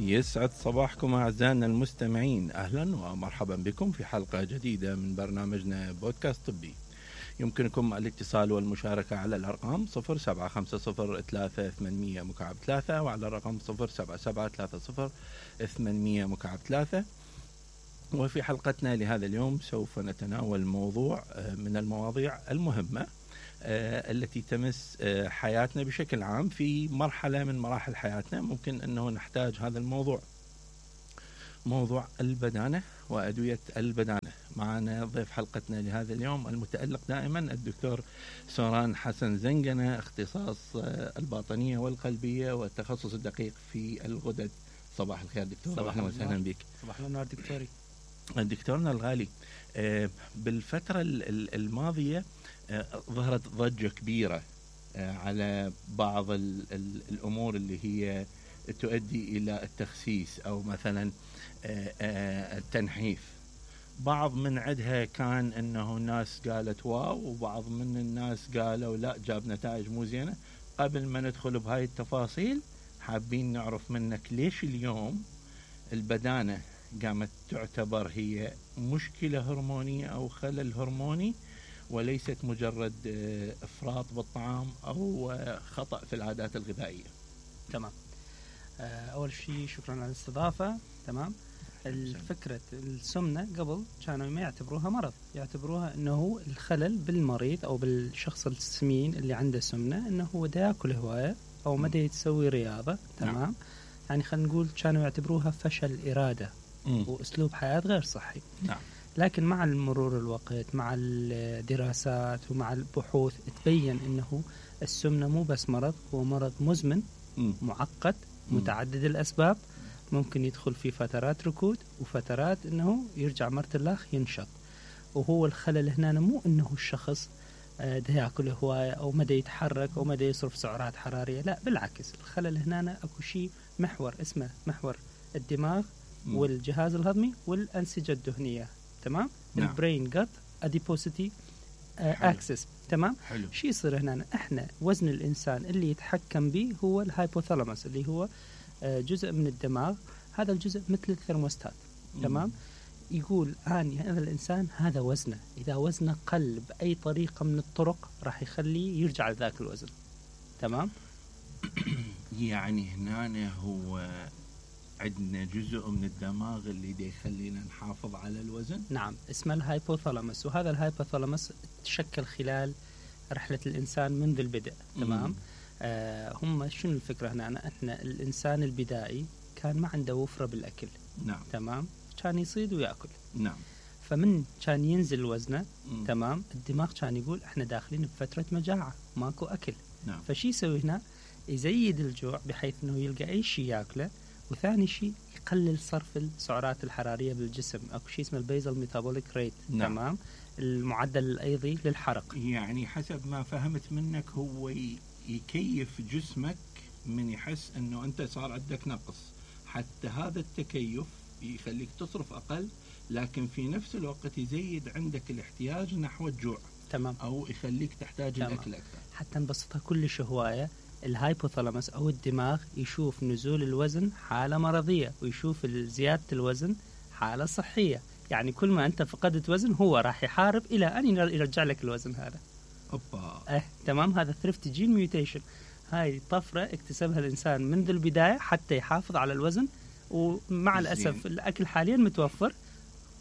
يسعد صباحكم أعزائنا المستمعين، أهلا ومرحبا بكم في حلقة جديدة من برنامجنا بودكاست طبي. يمكنكم الاتصال والمشاركة على الأرقام 07503800 وعلى الرقم 07730800. وفي حلقتنا لهذا اليوم سوف نتناول موضوع من المواضيع المهمة التي تمس حياتنا بشكل عام في مرحلة من مراحل حياتنا. ممكن أنه نحتاج هذا الموضوع، موضوع البدانة وأدوية البدانة. معنا ضيف حلقتنا لهذا اليوم المتألق دائما الدكتور سوران حسن زنجنة، اختصاص الباطنية والقلبية والتخصص الدقيق في الغدد. صباح الخير دكتور، أهلا وسهلا بك. صباح النور دكتوري. دكتورنا الغالي، بالفترة الماضية ظهرت ضجة كبيرة على بعض الأمور اللي هي تؤدي إلى التخسيس أو مثلا التنحيف. بعض من عدها كان أنه الناس قالت واو، وبعض من الناس قالوا لا جاب نتائج مو زينة. قبل ما ندخل بهاي التفاصيل حابين نعرف منك ليش اليوم البدانة قامت تعتبر هي مشكلة هرمونية أو خلل هرموني وليست مجرد إفراط بالطعام أو خطأ في العادات الغذائية. تمام. أول شيء شكرا على الاستضافة. تمام. الفكرة السمنة قبل كانوا ما يعتبروها مرض، يعتبروها أنه الخلل بالمريض أو بالشخص السمين اللي عنده سمنة، أنه هو دا يأكل هواية أو ما دا يتسوي رياضة. تمام. يعني خلينا نقول كانوا يعتبروها فشل إرادة وأسلوب حياة غير صحي. نعم. لكن مع المرور الوقت، مع الدراسات ومع البحوث، تبين أنه السمنة مو بس مرض، هو مرض مزمن معقد متعدد الأسباب. ممكن يدخل في فترات ركود وفترات أنه يرجع مرة الأخ ينشط. وهو الخلل هنا مو أنه الشخص ده يأكل هواية أو مدى يتحرك أو مدى يصرف سعرات حرارية، لا بالعكس. الخلل هنا أكو شيء محور اسمه محور الدماغ والجهاز الهضمي والأنسجة الدهنية. تمام. نعم. البرين جت أديبوسيتي أكسس. تمام. شو يصير هنا؟ احنا وزن الإنسان اللي يتحكم به هو الهايبوثالاموس، اللي هو جزء من الدماغ. هذا الجزء مثل الثرموستات. تمام. يقول هذا الإنسان هذا وزنه، إذا وزنه قل بأي طريقة من الطرق راح يخليه يرجع لذاك الوزن. تمام. يعني هنا هو عندنا جزء من الدماغ اللي دي يخلينا نحافظ على الوزن. نعم، اسمه الهايبوثالاموس. وهذا الهايبوثالاموس تشكل خلال رحلة الإنسان منذ البدء. تمام. هم شنو الفكرة هنا؟ احنا الإنسان البدائي كان ما عنده وفرة بالأكل. نعم. تمام. كان يصيد ويأكل. نعم. فمن كان ينزل وزنه تمام، الدماغ كان يقول احنا داخلين بفترة مجاعة ماكو أكل. نعم. فشي يسوي هنا؟ يزيد الجوع بحيث انه يلقى اي شيء ياكله. وثاني شيء يقلل صرف السعرات الحرارية بالجسم. اكو شيء اسمه البيزل ميتابوليك ريت. نعم. تمام. المعدل الأيضي للحرق. يعني حسب ما فهمت منك هو يكيف جسمك من يحس انه انت صار عندك نقص، حتى هذا التكيف يخليك تصرف اقل، لكن في نفس الوقت يزيد عندك الاحتياج نحو الجوع. تمام. او يخليك تحتاج تمام. الاكل اكثر. حتى نبسطها كلش هواية، الهايبوثالاموس او الدماغ يشوف نزول الوزن حالة مرضية، ويشوف زيادة الوزن حالة صحية. يعني كل ما انت فقدت وزن هو راح يحارب الى ان يرجع لك الوزن هذا. اوبا. تمام. هذا ثريفت جين ميوتيشن. هاي طفرة اكتسبها الانسان منذ البداية حتى يحافظ على الوزن. ومع الاسف الاكل حاليا متوفر.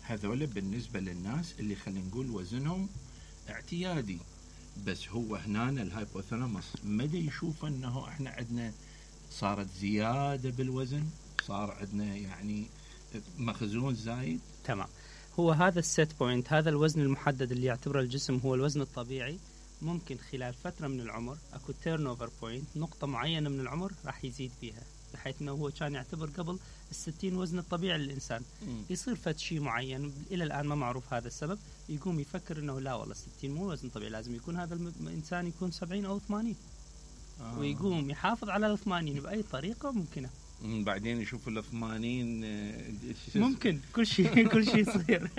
هذول بالنسبة للناس اللي خلينا نقول وزنهم اعتيادي، بس هو هنا الهايبوثالاموس مدى يشوف انه احنا عندنا صارت زيادة بالوزن، صار عندنا يعني مخزون زايد. تمام. هو هذا السيت بوينت، هذا الوزن المحدد اللي يعتبره الجسم هو الوزن الطبيعي. ممكن خلال فترة من العمر اكو تيرن اوفر بوينت، نقطة معينة من العمر راح يزيد فيها، بحيث انه هو كان يعتبر قبل 60 وزن الطبيعي للإنسان. يصير فد شيء معين إلى الآن ما معروف هذا السبب، يقوم يفكر إنه لا والله 60 مو وزن طبيعي، لازم يكون هذا الإنسان يكون 70 أو 80. ويقوم يحافظ على 80 بأي طريقة ممكنة. بعدين يشوف ال 80 ممكن كل شيء يصير.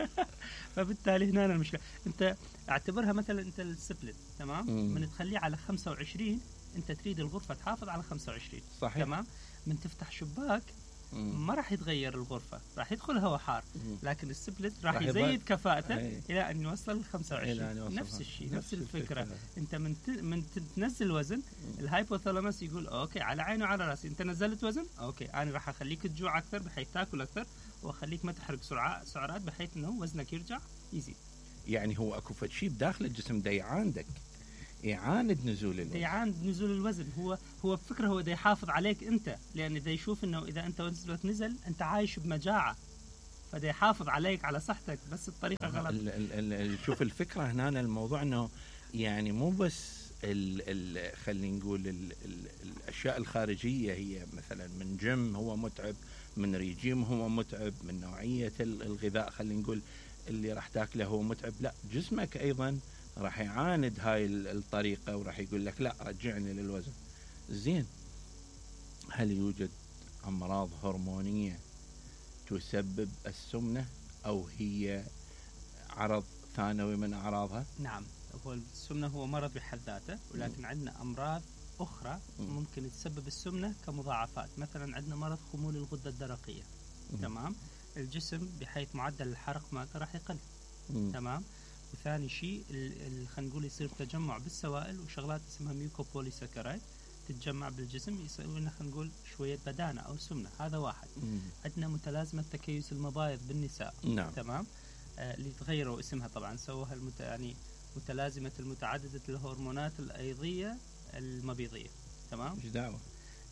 فبالتالي هنا المشكلة. أنت اعتبرها مثلا أنت السبلت. تمام. من تخليه على 25 أنت تريد الغرفة تحافظ على 25. صحيح. تمام. من تفتح شباك ما راح يتغير الغرفة، راح يدخل هواء حار، لكن السبلت راح يزيد كفاءته إلى أن يوصل 25. نفس الشيء، نفس الفكرة. أنت من تنزل وزن، الهايبوثالاموس يقول أوكي على عيني وعلى رأسي، أنت نزلت وزن، أوكي أنا راح أخليك تجوع أكثر بحيث تأكل أكثر، وأخليك ما تحرق سعرات بحيث أنه وزنك يرجع يزيد. يعني هو أكو شيء بداخل الجسم دا يعاندك، يعاند نزول الوزن. يعاند نزول الوزن. هو بفكرة هو دا يحافظ عليك أنت، لأن دا يشوف إنه إذا أنت وزنك نزل أنت عايش بمجاعة، فدا يحافظ عليك على صحتك، بس الطريقة غلط. شوف الفكرة هنا الموضوع إنه يعني مو بس خلينا نقول الأشياء الخارجية، هي مثلا من جيم هو متعب، من ريجيم هو متعب، من نوعية الغذاء خلينا نقول اللي راح تاكله هو متعب، لا جسمك أيضا راح يعاند هاي الطريقة وراح يقول لك لا رجعني للوزن. زين، هل يوجد أمراض هرمونية تسبب السمنة أو هي عرض ثانوي من أعراضها؟ نعم، هو السمنة هو مرض بحد ذاته، ولكن عندنا أمراض أخرى ممكن تسبب السمنة كمضاعفات. مثلا عندنا مرض خمول الغدة الدرقية. تمام، الجسم بحيث معدل الحرق مالته راح يقل. تمام. وثاني شيء خلينا نقول يصير تجمع بالسوائل وشغلات اسمها ميوكوبوليساكرايد تتجمع بالجسم، يسوي لنا خلينا نقول شوية بدانة أو سمنة. هذا واحد. عندنا متلازمة تكيس المبايض بالنساء. نعم. تمام، اللي تغيروا اسمها طبعا، سووها يعني متلازمة المتعددة الهرمونات الأيضية المبيضية. تمام. ايش دعوة؟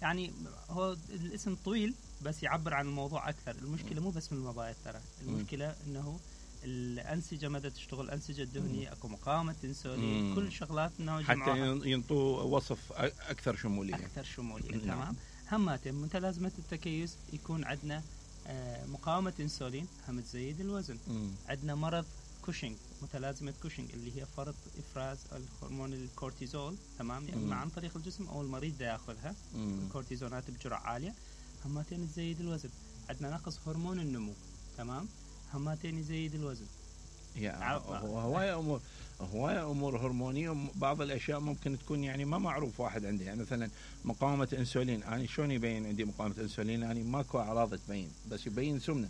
يعني هو الاسم طويل بس يعبر عن الموضوع أكثر. المشكلة مو بس من المبايض، ترى المشكلة إنه الأنسجة مدى تشتغل، الأنسجة الدهنية، أكو مقاومة إنسولين، كل شغلات إنه حتى ينطوا وصف أكثر شمولية. أكثر شمولية. تمام. هماتين متلازمة التكيس يكون عندنا مقاومة إنسولين، هم تزيد الوزن. عندنا مرض كوشنج، متلازمة كوشنج اللي هي فرط إفراز الهرمون الكورتيزول. تمام، يعني عن طريق الجسم أو المريض دا يأخذها الكورتيزونات بجرعة عالية، هماتين تزيد الوزن. عندنا نقص هرمون النمو. تمام، هماتين يزيد الوزن. هواية أمور هرمونية، بعض الأشياء ممكن تكون يعني ما معروف واحد عنده. يعني مثلا مقاومة إنسولين، أنا شلون يبين عندي مقاومة إنسولين؟ يعني ماكو أعراض تبين، بس يبين سمنة.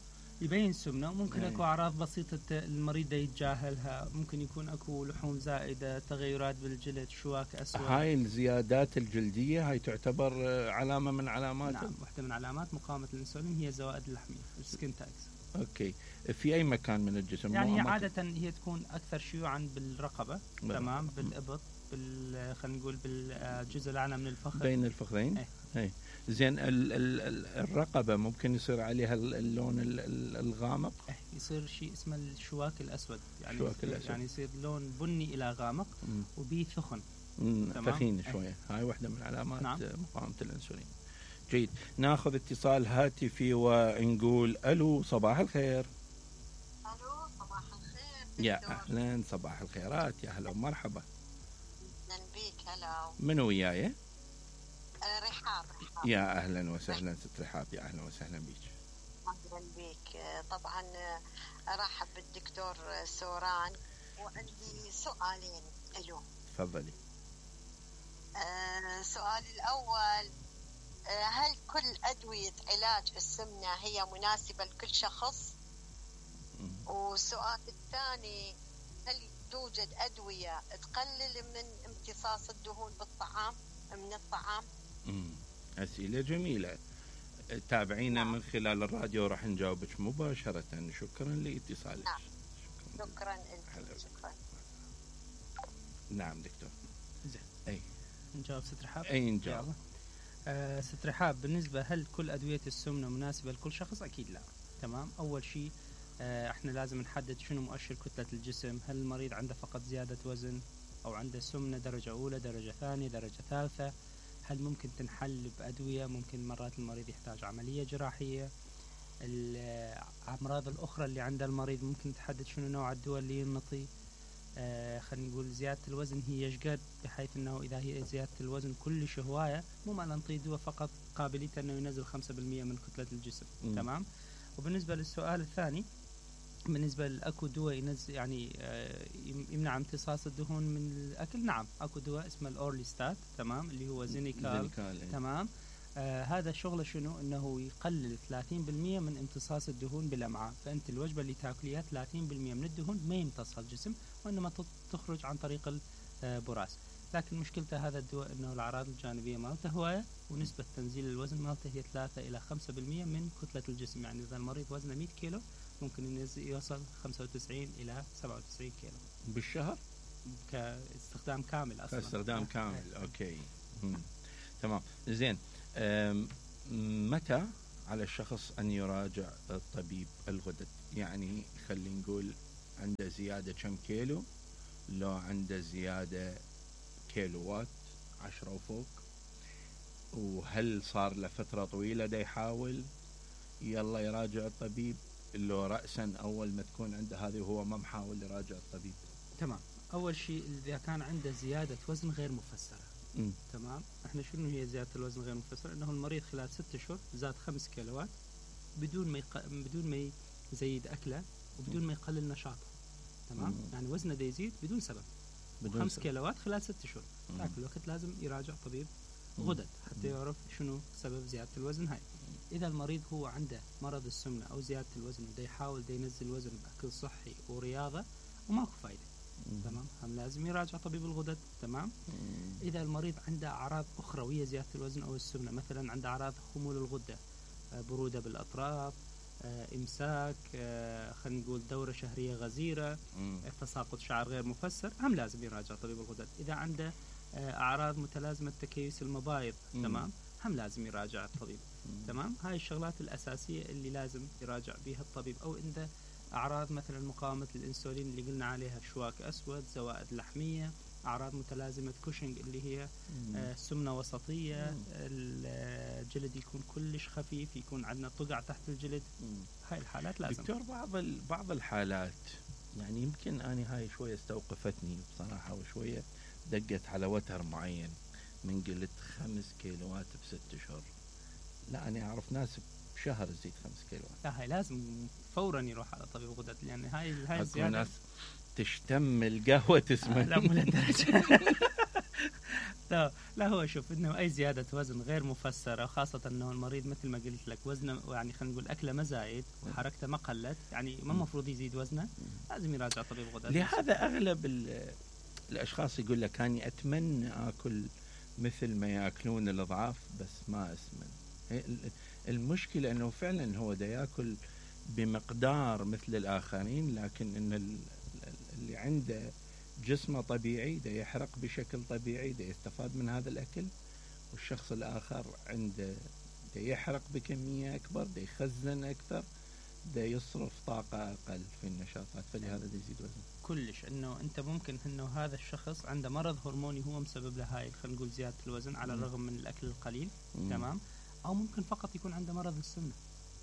ممكن أكو أعراض بسيطة المريض يتجاهلها، ممكن يكون أكو لحوم زائدة، تغيرات بالجلد، شواك أسود. هاي الزيادات الجلدية هاي تعتبر علامة من علامات. نعم، واحدة من علامات مقاومة الإنسولين هي زوائد اللحمية، السكين تاكس. اوكي، في اي مكان من الجسم؟ يعني عادة هي تكون اكثر شيوعا بالرقبة. تمام، بالابط، خلينا نقول بالجزء الاعلى من الفخذ، بين الفخذين. اي زين، الرقبة ممكن يصير عليها اللون الغامق. يصير شيء اسمه الشواك الاسود، يعني الشواك الأسود. يعني يصير لون بني الى غامق وبيه ثخن. ثخين شوية. هاي واحدة من علامات مقاومة الانسولين. جيد، ناخذ اتصال هاتفي ونقول الو، صباح الخير. الو، صباح الخير. يا اهلا، صباح الخيرات، يا هلا ومرحبا. اهلا بيك. هلا. منو وياي؟ رحاب. يا اهلا وسهلا ست رحاب، يا اهلا وسهلا بيك. اهلا بيك. طبعا ارحب بالدكتور سوران، وعندي سؤالين اليوم. تفضلي. سؤالي الاول، هل كل أدوية علاج السمنة هي مناسبة لكل شخص؟ والسؤال الثاني، هل توجد أدوية تقلل من امتصاص الدهون من الطعام؟ أسئلة جميلة. تابعينا من خلال الراديو، راح نجاوبك مباشرة. شكرا لاتصالك. شكرا لك. شكرا. نعم دكتور. زين، أي نجاوب ست رحاب؟ أي نجاوب. ست رحاب، بالنسبة هل كل أدوية السمنة مناسبة لكل شخص؟ أكيد لا. تمام، أول شيء احنا لازم نحدد شنو مؤشر كتلة الجسم. هل المريض عنده فقط زيادة وزن أو عنده سمنة درجة أولى، درجة ثانية، درجة ثالثة؟ هل ممكن تنحل بأدوية؟ ممكن مرات المريض يحتاج عملية جراحية. الأمراض الأخرى اللي عند المريض ممكن تحدد شنو نوع الدواء اللي ينطي. خلينا نقول زيادة الوزن هي يشقد، بحيث أنه إذا هي زيادة الوزن كلش هواية، مو معنى نعطي دواء فقط قابليته أنه ينزل 5% من كتلة الجسم. تمام. وبالنسبة للسؤال الثاني، بالنسبة لأكو دواء ينزل يعني يمنع امتصاص الدهون من الأكل. نعم، أكو دواء اسمه الأورليستات. تمام، اللي هو زينيكال. تمام، هذا شغله شنو؟ انه يقلل 30% من امتصاص الدهون بالامعاء. فانت الوجبه اللي تاكليها 30% من الدهون ما يمتصها الجسم، وانما تخرج عن طريق البراز. لكن مشكلته هذا الدواء انه الاعراض الجانبيه مالته هوايه، ونسبه تنزيل الوزن مالته هي 3 الى 5% من كتله الجسم. يعني اذا المريض وزنه 100 كيلو ممكن يوصل 95 الى 97 كيلو بالشهر كاستخدام كامل اصلا. كاستخدام كامل. اوكي. تمام. زين. متى على الشخص ان يراجع الطبيب الغدد؟ يعني خلينا نقول عنده زياده كم كيلو، لو عنده زياده كيلوات 10 وفوق، وهل صار له فتره طويله دا يحاول يلا يراجع الطبيب، لو رأسا اول ما تكون عنده هذه وهو ما محاول يراجع الطبيب؟ تمام. اول شيء اذا كان عنده زياده وزن غير مفسره. تمام. احنا شنو هي زياده الوزن غير مفسره؟ انه المريض خلال 6 اشهر زاد 5 كيلوات بدون ما يزيد اكله وبدون ما يقلل نشاطه. تمام. يعني وزنه دا يزيد بدون سبب، 5 كيلوات خلال 6 اشهر. ذاك الوقت لازم يراجع طبيب غدد حتى يعرف شنو سبب زياده الوزن هاي. اذا المريض هو عنده مرض السمنه او زياده الوزن ودا يحاول دا ينزل وزن باكل صحي ورياضه وماكو فايده، تمام، هم لازم يراجع طبيب الغدد. تمام. اذا المريض عنده اعراض اخرويه زياده الوزن او السمنه، مثلا عنده اعراض خمول الغده، بروده بالاطراف، امساك، خلينا نقول دوره شهريه غزيره، تساقط شعر غير مفسر، هم لازم يراجع طبيب الغدد. اذا عنده اعراض متلازمه تكيس المبايض، تمام، هم لازم يراجع الطبيب. تمام. هاي الشغلات الاساسيه اللي لازم يراجع بها الطبيب. او عنده اعراض مثلا مقاومه الانسولين اللي قلنا عليها، شواك اسود، زوائد لحميه، اعراض متلازمه كوشنج اللي هي سمنه وسطيه، الجلد يكون كلش خفيف، يكون عندنا طقع تحت الجلد. هاي الحالات لازم. دكتور، بعض الحالات يعني يمكن أنا هاي شويه استوقفتني بصراحه، وشويه دقت على وتر معين من قلت 5 كيلوات ب6 اشهر. لا، أنا أعرف ناس بشهر تزيد 5 كيلوات. لا، هاي لازم فورا يروح على طبيب غدد، لأن هاي الزيادة. ناس تشتم القهوة تسمن. لا، مو للدرجة. لا، هو شوف انه اي زياده وزن غير مفسره، خاصه انه المريض مثل ما قلت لك وزنه، يعني خلينا نقول اكله ما زايد وحركته ما قلت، يعني ما المفروض يزيد وزنه، لازم يراجع طبيب غدد. لهذا اغلب الاشخاص يقول لك اني اتمنى اكل مثل ما ياكلون الاضعاف بس ما اسمن. المشكله انه فعلا هو دا ياكل بمقدار مثل الاخرين، لكن ان اللي عنده جسمه طبيعي دا يحرق بشكل طبيعي، دا يستفاد من هذا الاكل، والشخص الاخر عنده دا يحرق بكميه اكبر، دا يخزن اكثر، دا يصرف طاقه اقل في النشاطات، فلهذا دا يزيد وزن. كلش انه انت ممكن انه هذا الشخص عنده مرض هرموني هو مسبب له هاي، خلينا نقول زياده الوزن على الرغم من الاكل القليل. تمام. او ممكن فقط يكون عنده مرض السمنه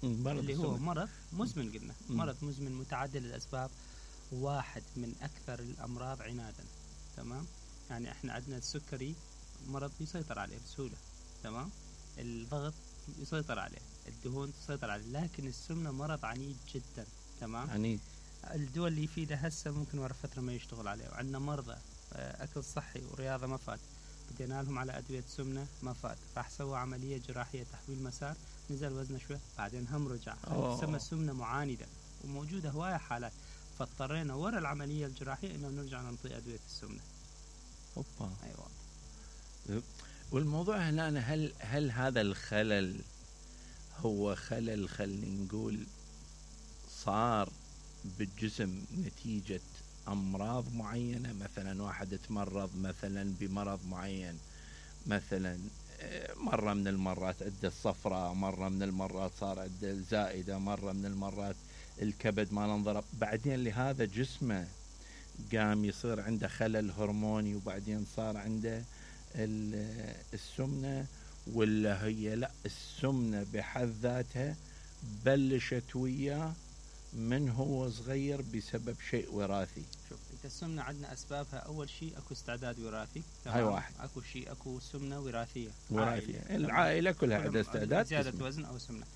اللي هو مرض مزمن. قلنا مرض مزمن متعدد الاسباب، واحد من اكثر الامراض عنادا. تمام. يعني احنا عندنا السكري مرض يسيطر عليه بسهوله، تمام، الضغط يسيطر عليه، الدهون تسيطر عليه، لكن السمنه مرض عنيد جدا. تمام. عنيد. الدول اللي يفيده هسه ممكن ورا فتره ما يشتغل عليه. وعندنا مرضى اكل صحي ورياضه ما فات، بدينا لهم على ادويه سمنه ما فات، راح سوى عمليه جراحيه تحويل مسار، نزل وزنه شوي بعدين هم رجع. تسمى سمنه معانده، وموجوده هوايه حالات، فاضطرينا ورا العمليه الجراحيه انه نرجع نعطي ادويه السمنه. اوبا. ايوه. والموضوع هنا هل هذا الخلل هو خلل خلينا نقول صار بالجسم نتيجة أمراض معينة؟ مثلا واحد تمرض مثلا بمرض معين، مثلا مرة من المرات عنده الصفرة، مرة من المرات صار عنده الزائدة، مرة من المرات الكبد ما انضرب، بعدين لهذا جسمه قام يصير عنده خلل هرموني، وبعدين صار عنده السمنة، ولا هي لا السمنة بحد ذاتها بلشت وياه من هو صغير بسبب شيء وراثي؟ شوف انت السمنة عندنا اسبابها، اول شيء اكو استعداد وراثي، هاي واحد، اكو سمنة وراثية. العائلة كلها عندها استعداد زيادة وزن او سمنة.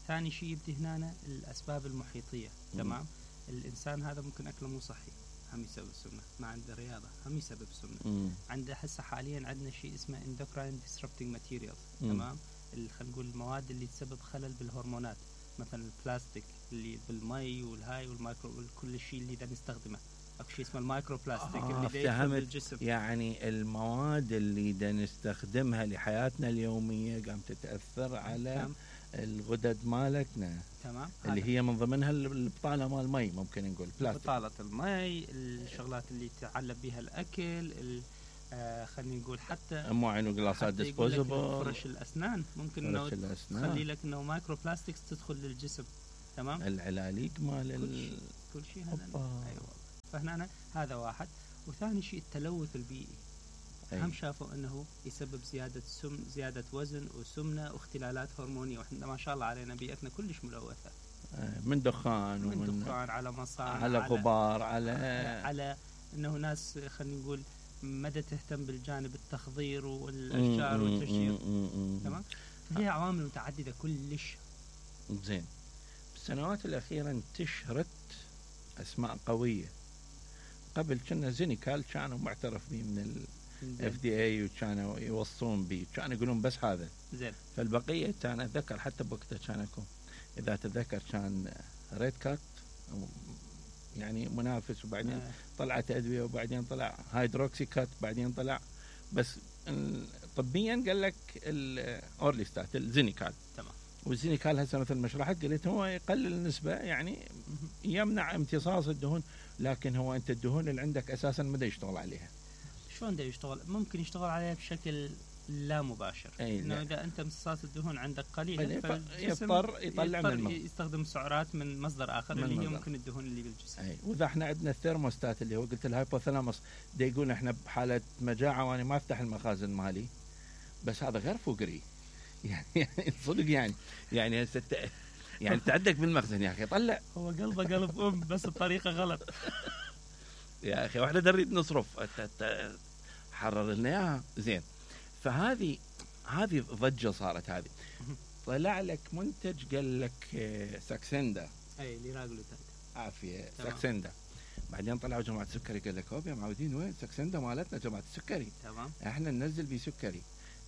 ثاني شيء يبدي هنا الاسباب المحيطية. تمام. الانسان هذا ممكن اكله مو صحي، هم يسبب السمنة، ما عنده رياضة، هم يسبب السمنة. عنده هسه حاليا عندنا شيء اسمه endocrine disrupting materials. تمام. خلينا نقول المواد اللي تسبب خلل بالهرمونات، مثلا البلاستيك اللي بالمي والهاي والمايكرو وكل الشيء اللي دا نستخدمه. اكو شيء اسمه المايكرو بلاستيك اللي دا يدخل بالجسم. يعني المواد اللي دا نستخدمها لحياتنا اليوميه قام تتاثر على الغدد مالتنا. تمام. اللي هي من ضمنها البطاله مال المي، ممكن نقول بلاستيك، بطاله المي، الشغلات اللي تعلب بها الاكل، خلينا نقول حتى مواعين وقلاصات ديسبوزبل، فرش الاسنان ممكن انه تخلي لك انه مايكرو بلاستكس تدخل للجسم. تمام. العلاليق مال كل شيء هذا. ايوه. فهنا هذا واحد. وثاني شيء التلوث البيئي. هم شافوا انه يسبب زياده وزن وسمنه واختلالات هرمونيه، واحنا ما شاء الله علينا بيئتنا كلش ملوثه، من دخان ومن دخان على مصانع، على غبار، على انه ناس خلينا نقول مدى تهتم بالجانب التخضير والاشجار والتشجير. تمام. فهي عوامل متعدده كلش. زين. بالسنوات الاخيره انتشرت اسماء قويه. قبل كنا زينيكال كانوا معترف به من FDA وكانوا يوصون به، كانوا يقولون بس هذا. زين. فالبقيه كان اتذكر حتى بوقتها كان اكو، اذا تذكر كان ريد كات يعني منافس، وبعدين طلعت ادويه، وبعدين طلع هيدروكسي كات، بعدين طلع بس طبيا قال لك الاورليستات الزينيكال. تمام. والزينيكال هسه مثل ما شرحت قلت هو يقلل النسبه، يعني يمنع امتصاص الدهون، لكن هو انت الدهون اللي عندك اساسا ما دا يشتغل عليها. شلون دا يشتغل؟ ممكن يشتغل عليها بشكل لا مباشر. انه اذا انت امتصاص الدهون عندك قليل يضطر يطلع من الماء، يستخدم سعرات من مصدر اخر اللي هي ممكن الدهون اللي بالجسم. واذا احنا عندنا الثيرموستات اللي هو قلت الهايبوثالاموس دا يقول احنا بحاله مجاعه وانا ما افتح المخازن مالي، بس هذا غير فقري يعني صدق يعني هسه يعني تعدك بالمخزن يا اخي طلع. هو قلبه قلب بس الطريقه غلط يا اخي واحنا نريد نصرف حرر لنا اياها. زين. فهذه ضجه صارت. هذه طلع لك منتج قال لك ساكسندا، اي ليراغلوتايد، عافيه ساكسندا. بعدين طلعوا جماعه السكري قال لك هوب يا معودين وين ساكسندا مالتنا جماعه السكري. تمام. احنا ننزل بيه سكري.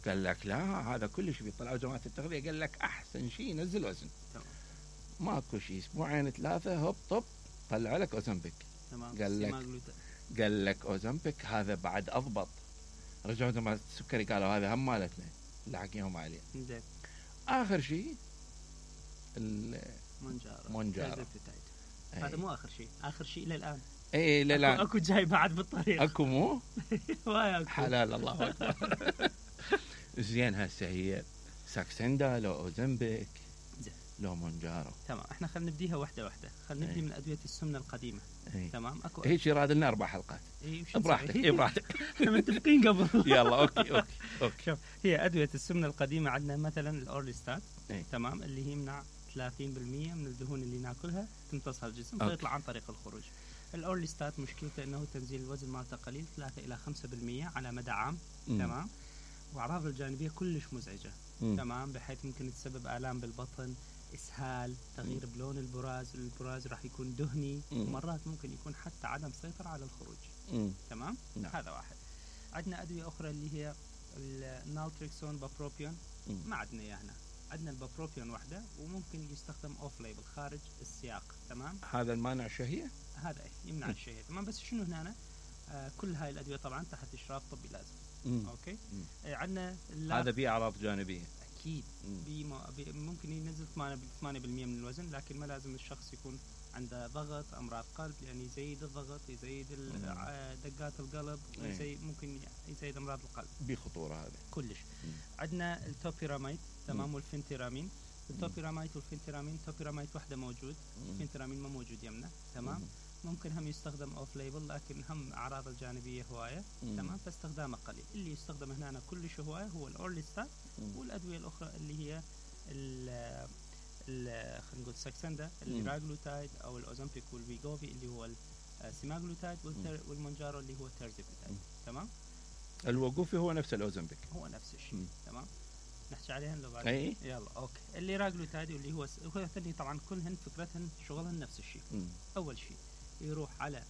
قال لك لا هذا كلش بيطلعوا جماعه التغذيه قال لك احسن شيء ينزل وزن. تمام. ماكو شيء، اسبوعين ثلاثه هوب طب طلع لك اوزمبيك. تمام. قال لك اوزمبيك هذا بعد اضبط. رجعوا جماعه السكري قالوا هذا هم مالتنا اللي حكيهم عليه. زين. اخر شيء مونجارو. هذا مو اخر شيء، اخر شيء الى الان. اي لا لا اكو جاي بعد بالطريق. اكو مو وايد حلال الله اكبر. زين. هسه هي ساكسندا لو اوزمبيك لو مونجارو. تمام. احنا خلينا نبديها واحده خلينا نبدي من ادويه السمنه القديمه. تمام. اكو هيك يراد لنا 4 حلقات. براحتك براحتك. احنا متفقين قبل. يلا اوكي. شوف، هي ادويه السمنه القديمه عندنا مثلا الاورليستات. تمام. اللي هي يمنع 30% من الدهون اللي ناكلها تمتصها الجسم فيطلع عن طريق الخروج. الاورليستات مشكلته انه تنزيل الوزن مالته قليل 3 الى 5% على مدى عام. تمام. واعراض الجانبيه كلش مزعجه. تمام. بحيث ممكن تسبب الام بالبطن، اسهال، تغيير بلون البراز راح يكون دهني، ومرات ممكن يكون حتى عدم سيطره على الخروج. تمام. هذا واحد. عندنا ادويه اخرى اللي هي النالتريكسون بابروبيون، ما عندنا اياه هنا. عندنا البابروبيون وحده، وممكن يستخدم اوف ليبل خارج السياق. تمام. هذا المانع الشهيه، هذا يمنع الشهيه. تمام. بس شنو هنا كل هاي الادويه طبعا تحت اشراف طبي لازم. اوكي. عندنا هذا بيه اعراض جانبيه اكيد. ممكن ينزل 8% من الوزن، لكن ما لازم الشخص يكون عنده ضغط، امراض قلب، يعني يزيد الضغط، يزيد دقات القلب، ممكن يزيد امراض القلب. بخطوره هذا كلش. عندنا التوبيراميد. تمام. والفنتيرامين. التوبيراميد والفنتيرامين، التوبيراميد وحده موجود، الفنتيرامين ما موجود يمنا. تمام. ممكن هم يستخدم اوف ليبل، لكن هم اعراض الجانبيه هوايه. تمام. فاستخدامه قليل. اللي يستخدم هنا كلش هوايه هو الاورليستات، والادويه الاخرى اللي هي خلينا نقول ساكسندا، الليراغلوتايد او الاوزمبيك والويغوفي اللي هو السيماغلوتايد، والمونجارو اللي هو التيرزيبيتايد. تمام. الوقوفي هو نفس الاوزمبيك، هو نفس الشيء. تمام. نحكي عليهن لو بعد. يلا اوكي. الليراغلوتايد اللي هو الثاني طبعا كلهن فكرتهن شغلهن نفس الشيء. اول شيء يروح على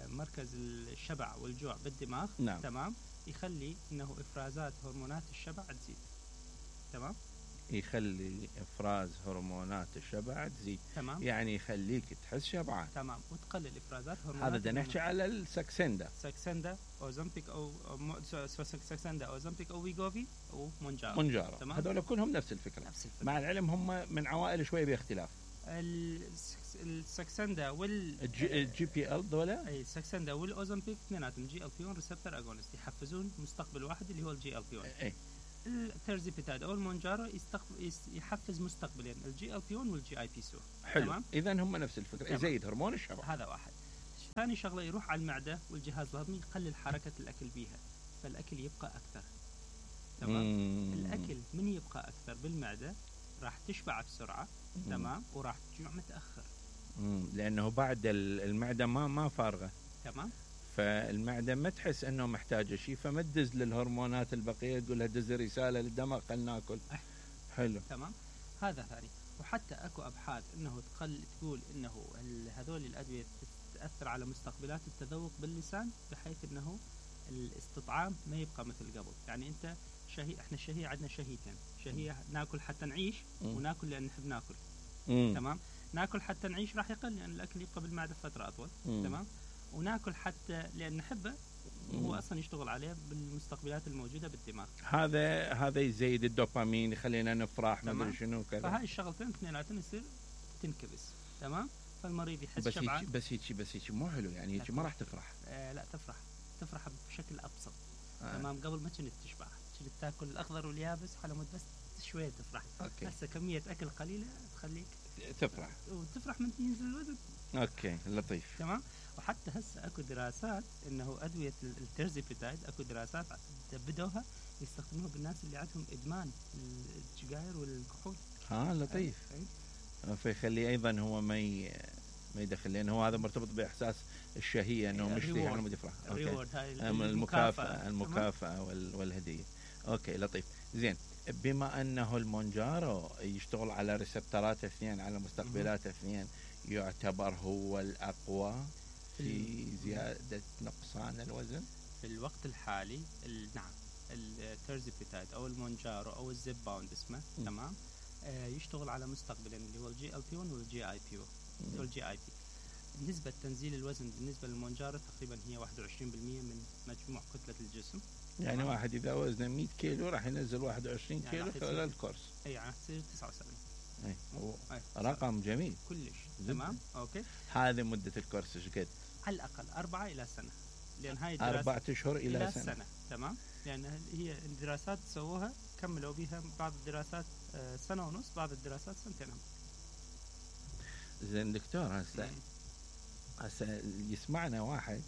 مركز الشبع والجوع بالدماغ. نعم. تمام. يخلي انه افرازات هرمونات الشبع تزيد. تمام، يخلي افراز هرمونات الشبع تزيد. تمام، يعني يخليك تحس شبعان. تمام، وتقلل افرازات هرمونات. هذا بدنا نحكي على الساكسندا. ساكسندا، اوزمبيك او ساكسندا، اوزمبيك او ويغوفي او مونجارو. مونجارو هذول كلهم نفس الفكره. نفس الفكره، مع العلم هم من عوائل شويه باختلاف. الساكسندا الجي بي ال ذولا. اي الساكسندا والاوزمبيك اثنيناتهم جي ال بي 1 ريسبتور اجونست، يحفزون مستقبل واحد اللي هو الجي ال بي 1. اي الترزيبيتاد او المونجارو يحفز مستقبلين، الجي ال بي 1 والجي اي بي 2. حلو، اذا هم نفس الفكره، يزيد هرمون الشبع. هذا واحد. ثاني شغله يروح على المعده والجهاز الهضمي، يقلل حركه الاكل بيها، فالاكل يبقى اكثر. تمام. الاكل من يبقى اكثر بالمعده راح تشبع بسرعه. تمام، وراح تجوع متاخر. لانه بعد المعده ما فارغه. تمام، فالمعده ما تحس انه محتاجه شيء، فما تدز للهرمونات البقيه، تقول لها دز رساله للدماغ خلينا ناكل. حلو، تمام، هذا ثاني. وحتى اكو ابحاث انه تقول انه هذول الادويه تاثر على مستقبلات التذوق باللسان، بحيث انه الاستطعام ما يبقى مثل قبل. يعني انت احنا الشهيه عندنا شهيتين، شهيه ناكل حتى نعيش، وناكل لان نحب ناكل. تمام، ناكل حتى نعيش راح يقل لان الاكل يبقى بالمعده فتره اطول. تمام، وناكل حتى لان نحبه، هو اصلا يشتغل عليه بالمستقبلات الموجوده بالدماغ. هذا يزيد الدوبامين، يخلينا نفرح، ما ادري شنو كذا. فهاي الشغلتين اثنيناتهم يصير تنكبس. تمام، فالمريض يحس شبعان. بس هيك مو حلو، يعني هيك ما راح تفرح. لا تفرح بشكل ابسط. تمام، قبل ما كنت تشبع، كنت تاكل الاخضر واليابس على مود بس شويه تفرح. هسه كميه اكل قليله تخليك تفرح، وتفرح من ينزل الوزن. اوكي، لطيف. تمام، وحتى هسه اكو دراسات انه ادويه الترزيبيتايد، اكو دراسات بدوها يستخدموها بالناس اللي عندهم ادمان السجاير والكحول. لطيف. فيخلي ايضا هو ما يدخل، لانه هو هذا مرتبط باحساس الشهيه، انه مشتهي على مود يفرح. المكافاه والهديه. اوكي، لطيف. زين، بما انه المونجارو يشتغل على ريسبترات اثنين، على مستقبلات اثنين، يعتبر هو الأقوى في زيادة نقصان الوزن في الوقت الحالي. نعم، الترزيبيتايد أو المونجارو أو الزيباوند اسمه. تمام، يشتغل على مستقبلين اللي هو الجي ال بي 1 والجي اي بي والجي اي بي. نسبة تنزيل الوزن بالنسبة للمونجارو تقريبا هي 21% من مجموع كتلة الجسم. يعني واحد إذا وزنه 100 كيلو راح ينزل 21 يعني كيلو خلال الكورس. يعني تصير 79. رقم جميل كلش. تمام، اوكي. هذه مدة الكورس ايش قد؟ على الأقل 4 إلى سنة، لأن هاي الدراسة 4 أشهر إلى سنة. تمام، لأن هي الدراسات سووها كملوا بها، بعض الدراسات 1.5 سنة، بعض الدراسات 2 سنين. زين دكتور، هسه يسمعنا واحد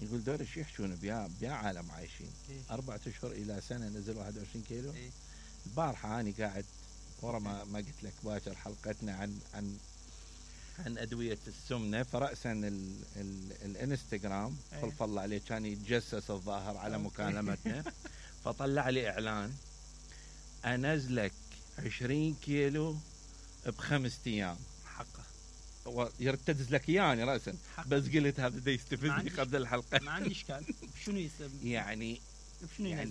يقول دور ايش يحشون بيا عالم عايشين 4 أشهر إلى سنة نزل 21 كيلو. البارحة أنا قاعد ورا ما قلت لك باكر حلقتنا عن أدوية السمنة، فرأسا الانستغرام خلف الله عليه كان يتجسس الظاهر على مكالمتنا، فطلع لي إعلان أنزلك 20 كيلو ب5 أيام. حقه يرتدز لك يعني رأسا، بس قلت هذا دا يستفزني قبل الحلقة. ما عندي إشكال. شنو يسمى يعني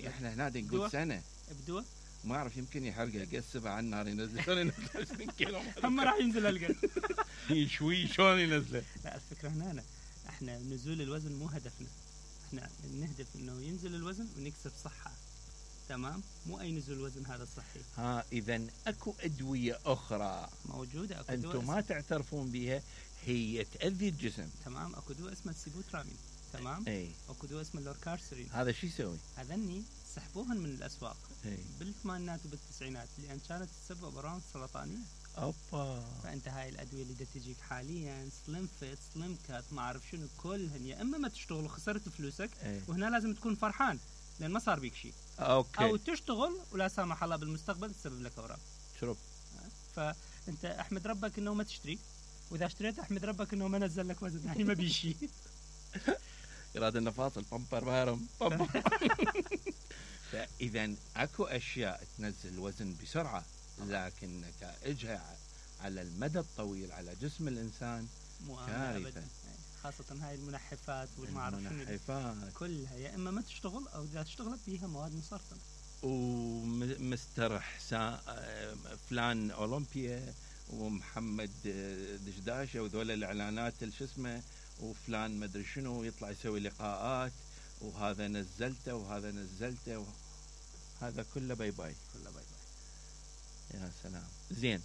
إحنا هنا نقول سنة بدوه ما أعرف، يمكن يحرقه يقسبه على النار ينزل. شلون ينزل 20 كيلو؟ هم راح ينزل القلب شوي شلون ينزله؟ لا، الفكرة هنا احنا نزول الوزن مو هدفنا، احنا نهدف انه ينزل الوزن ونكسب صحة. تمام، مو اي نزول وزن هذا صحي. اذا اكو ادوية اخرى موجودة، انتم ما تعترفون بها، هي تأذي الجسم. تمام، اكو دواء اسمه السيبوترامين. تمام، اكو دواء اسمه اللوركارسرين. هذا شو يسوي؟ هذني سحبوهن من الاسواق بالثمانينات وبالتسعينات، لان كانت تسبب امراض سرطانيه. اوبا. فانت هاي الادويه اللي تجيك حاليا سليم فيت، سليم كات، ما اعرف شنو، كلهن يا اما ما تشتغل وخسرت فلوسك، وهنا لازم تكون فرحان لان ما صار بيك شيء، او تشتغل ولا سامح الله بالمستقبل تسبب لك اورام. شرب. فانت احمد ربك انه ما تشتري، واذا اشتريت احمد ربك انه ما نزل لك وزن، يعني ما بيشي. يراد انه فاصل بامبر بارم. فاذا اكو اشياء تنزل الوزن بسرعه، لكن نتائجها على المدى الطويل على جسم الانسان كارثه. خاصه هاي المنحفات والما اعرف شنو كلها، يا اما ما تشتغل او اذا اشتغلت بيها مواد مسرطنه. ومستر حسام فلان اولمبيا ومحمد دشداشه وذول الاعلانات شو اسمه، وفلان مدري شنو يطلع يسوي لقاءات، وهذا نزلته وهذا نزلته هذا كله باي باي، كله باي باي. يا سلام. زين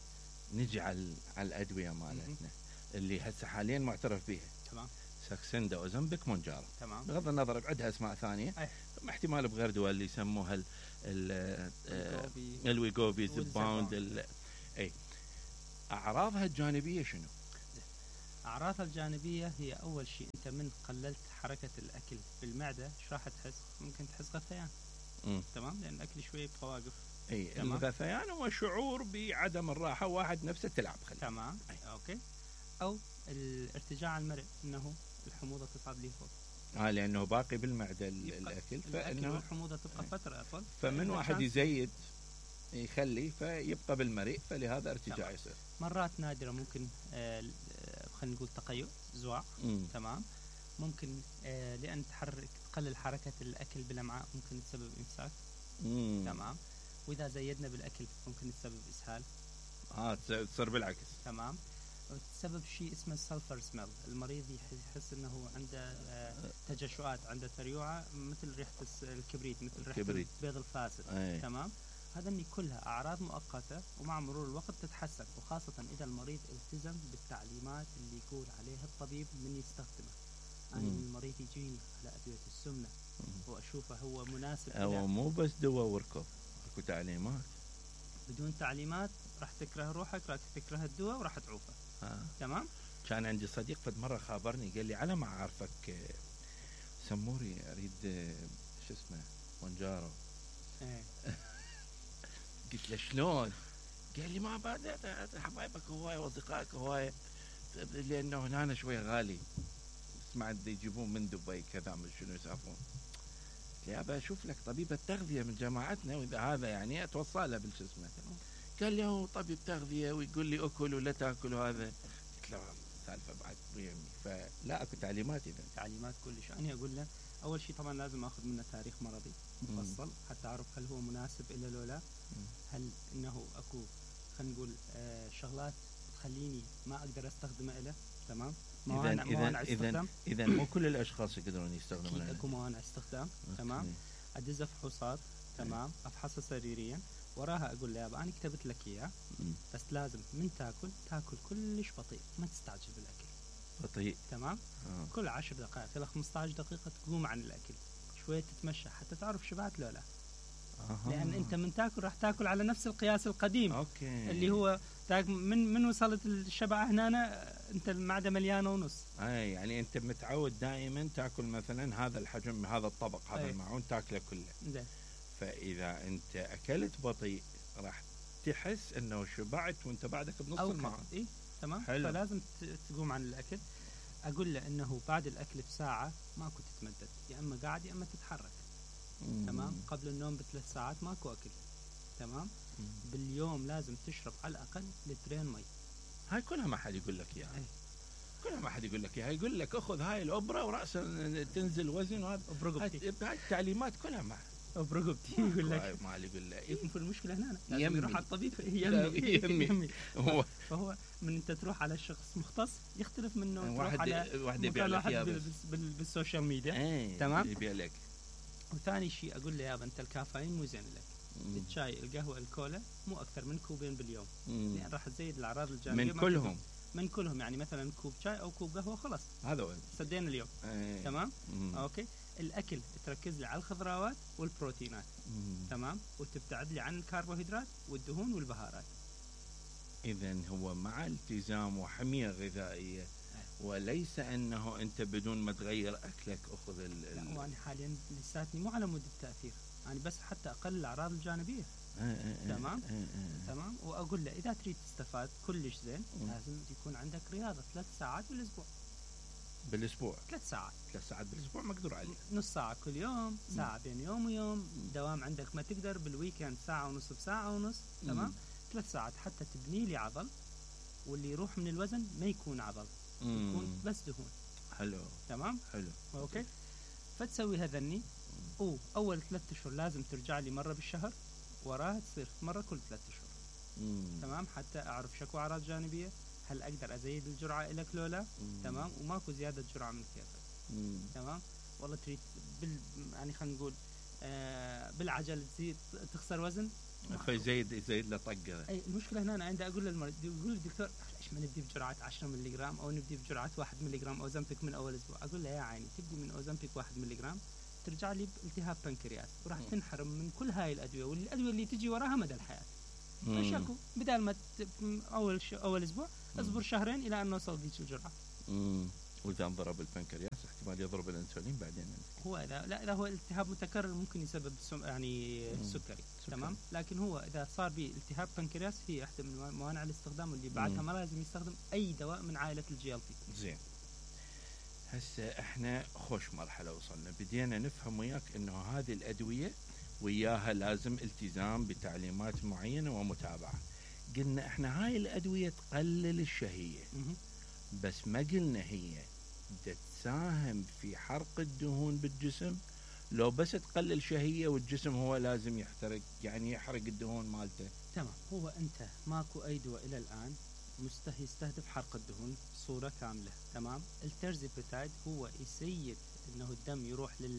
نجي على الادويه مالتنا اللي هسه حاليا معترف بها. تمام. ساكسندا، اوزمبيك، مونجارو. تمام. بغض النظر بعدها اسماء ثانيه. احتمال بغير دول اللي يسموها الويغوبي، زباوند. اي اعراضها الجانبيه شنو؟ اعراضها الجانبيه هي اول شيء انت من قللت حركه الاكل بالمعده ايش راح تحس؟ ممكن تحس غثيان. تمام، لان الاكل شويه يبقى واقف. اي الغثيان هو شعور بعدم الراحه، واحد نفسه تلعب خلي. تمام. اوكي. او الارتجاع المرئ، انه الحموضه تصعد لي فوق. لانه باقي بالمعده الاكل، فانه والحموضه تبقى فتره اطول، فمن واحد يزيد يخلي فيبقى بالمريء، فلهذا ارتجاع يصير. مرات نادره ممكن خلينا نقول تقيؤ، زواع. تمام. ممكن لان تقلل حركه الاكل بالامعاء ممكن تسبب امساك. تمام. واذا زيدنا بالاكل ممكن تسبب اسهال. تصير بالعكس. تمام. تسبب شيء اسمه السلفر سميل، المريض يحس انه عنده تجشؤات، عنده تريوعه مثل ريحه الكبريت، مثل ريحه البيض الفاسد. تمام. هذني كلها اعراض مؤقته، ومع مرور الوقت تتحسن، وخاصه اذا المريض التزم بالتعليمات اللي يقول عليها الطبيب من يستخدمه. انا المريض يجيني على ادويه السمنه واشوفه هو مناسب، هو مو بس دواء وركب، اكو تعليمات. بدون تعليمات راح تكره روحك، راح تكره الدواء وراح تعوفه. تمام. كان عندي صديق فد مره خابرني قال لي على ما اعرفك سموري اريد شو اسمه مونجارو. قلت له شلون؟ قال لي ما بعد حبايبك هوايه واصدقائك هوايه، لانه هنا شوي غالي، سمعت يجيبون من دبي كذا من شنو يسافرون. قلت له ابى اشوف لك طبيبه تغذيه من جماعتنا، واذا هذا يعني اتوصله بالشو اسمه. قال لي هو طبيب تغذيه ويقول لي اكل ولا تاكل وهذا. قلت له سالفه بعد مهمه، فلا اكو تعليمات. اذا تعليمات كلش. انا اقول له اول شيء طبعا لازم اخذ منه تاريخ مرضي مفصل حتى اعرف هل هو مناسب الا لو لا. هل انه اكو خلينا نقول شغلات تخليني ما اقدر استخدمه له. تمام. اذا مو كل الاشخاص يقدرون يستخدمونه. اكو موانع استخدام. تمام. ادز فحوصات. تمام. افحصه سريريا، وراها اقول له يابا انا كتبت لك اياه، بس لازم من تاكل كلش بطيء، ما تستعجل بالاكل. بطيء. تمام. كل 10 دقائق الى 15 دقيقه تقوم عن الاكل، شويه تتمشى حتى تعرف شبعت لو لا. لان انت من تاكل راح تاكل على نفس القياس القديم. اوكي. اللي هو من وصلت الشبع هنا انت المعده مليانه ونص. يعني انت متعود دائما تاكل مثلا هذا الحجم، هذا الطبق، هذا المعون تاكله كله. زين. فاذا انت اكلت بطيء راح تحس انه شبعت وانت بعدك بنص المعون. تمام. حلو. فلازم تقوم عن الاكل. اقول له انه بعد الاكل بساعه ماكو تتمدد، يا اما قاعد يا اما تتحرك. تمام. قبل النوم ب3 ساعات ماكو اكل. تمام. باليوم لازم تشرب على الاقل 2 لتر مي. هاي كلها ما حد يقول لك اياها. كلها ما حد يقول لك اياها، يقول لك اخذ هاي الابره وراسا تنزل وزن، وهذا برقبتي. هاي التعليمات كلها ما برقبتي يقول لك. ما يقول له يكون المشكله هنا لازم يروح على الطبيب. يمي. فهو من انت تروح على شخص مختص يختلف منه تروح على واحد يبيع لك بالسوشيال ميديا. تمام. يبيع لك. وثاني شيء اقول له يابا انت الكافيين مو زين لك. الشاي، القهوه، الكولا مو اكثر من كوبين باليوم، يعني راح تزيد الاعراض الجانبيه من كلهم. يعني مثلا كوب شاي او كوب قهوه خلاص هذا هو سدينا اليوم. تمام. اوكي. الاكل تركز لي على الخضروات والبروتينات. تمام. وتبتعد لي عن الكربوهيدرات والدهون والبهارات. اذا هو مع التزام وحميه غذائيه، وليس انه انت بدون ما تغير اكلك اخذ لا، وانا حاليا لساتني مو على مود التاثير، يعني بس حتى اقلل الاعراض الجانبيه. تمام. تمام. واقول له اذا تريد تستفاد كلش زين لازم يكون عندك رياضه 3 ساعات بالاسبوع. 3 ساعات بالاسبوع مقدور عليه. نص ساعه كل يوم، ساعه بين يوم ويوم. دوام عندك ما تقدر بالويكند ساعه ونص بساعه ونص. تمام. 3 ساعات حتى تبني لي عضل، واللي يروح من الوزن ما يكون عضل، يكون بس دهون. حلو. تمام. حلو. اوكي. فتسوي هذني اول 3 اشهر لازم ترجع لي مره بالشهر، وراها تصير مره كل 3 اشهر. تمام، حتى اعرف شكو اعراض جانبيه، هل اقدر ازيد الجرعه لك لو لا. تمام، وماكو زياده جرعه من كيفك. تمام، والله تريد يعني خلينا نقول بالعجل تزيد تخسر وزن، فيزيد له طقه. اي المشكله هنا، انا عندي اقول للمريض، يقول الدكتور ليش ما نبدي بجرعه 10 ملغ او نبدي بجرعه 1 ملغ اوزمبيك من اول اسبوع؟ اقول له يا عيني، تبدي من اوزمبيك 1 ملغ ترجع لي بالتهاب بنكرياس، وراح تنحرم من كل هاي الادويه، والادويه اللي تجي وراها مدى الحياه. فشكو بدال ما اول اسبوع اصبر شهرين الى ان نوصل ذيك الجرعه. واذا انضرب البنكرياس احتمال يضرب الانسولين بعدين. هو لا هو التهاب متكرر ممكن يسبب يعني السكري. تمام، لكن هو اذا صار به التهاب بنكرياس هي احدى من موانع الاستخدام، واللي بعدها ما لازم يستخدم اي دواء من عائله الجي ال بي. زين، هسه احنا خوش مرحله وصلنا، بدينا نفهم وياك انه هذه الادويه وياها لازم التزام بتعليمات معينه ومتابعه. قلنا احنا هاي الادويه تقلل الشهيه، بس ما قلنا هي تساهم في حرق الدهون بالجسم، لو بس تقلل شهيه والجسم هو لازم يحترق، يعني يحرق الدهون مالته. تمام، هو انت ماكو اي دواء الى الان يستهدف حرق الدهون بصوره كامله. تمام، الترزيبيتايد هو يسيد انه الدم يروح